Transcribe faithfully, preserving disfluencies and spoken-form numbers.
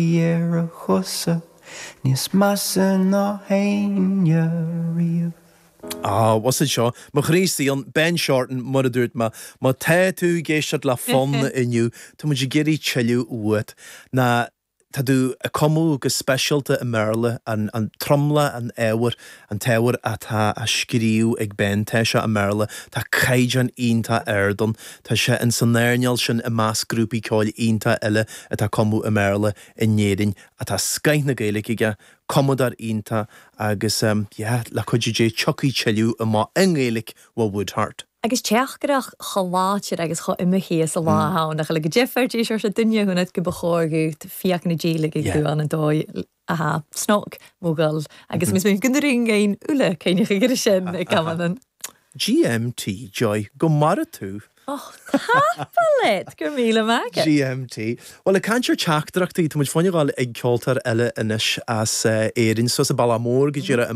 Ar a chosa níos measa ná héinne riamh. Ah, was seo mo chroí an Ben Shorten mar a dúirt mé má tá tú ag éisteacht le fonn inniu Tá muid ag iarraidh tuilleadh uait na Tá tú ag cumadh go speisialta i mBéarla an, an tromlach an ábhair an t-ábhar atá á scríobh ag Ben tá sé i mBéarla Tá caighdeán iontach ard ann Tá sé in san earnáil sin i measc grúpaí ceoil iontach eile atá ag cumadh i mBéarla in Éirinn atá scoth na Gaeilge aige cumadóir iontach agus um, yeah, le cuidiú Dé tiocfaidh tuilleadh amach i nGaeilge ó Woodheart. Agus teachtaireacht chomh láidir agus chomh imithe sa lá ann a le go difir sé se duine hunad go b'chóirú fiach na díle ag go an an dóigh aha snog mógáil agus mis mé gunnaring ein ule céine gur sin ag gaman. GMT Joy go mara tú. Tápalet gur míle maith. GMT. Well ag caint ar teachtaireachtaí tá muid fágáil ag ceoltóir eile anois as Éirinn so sa Baile Mór go dtíre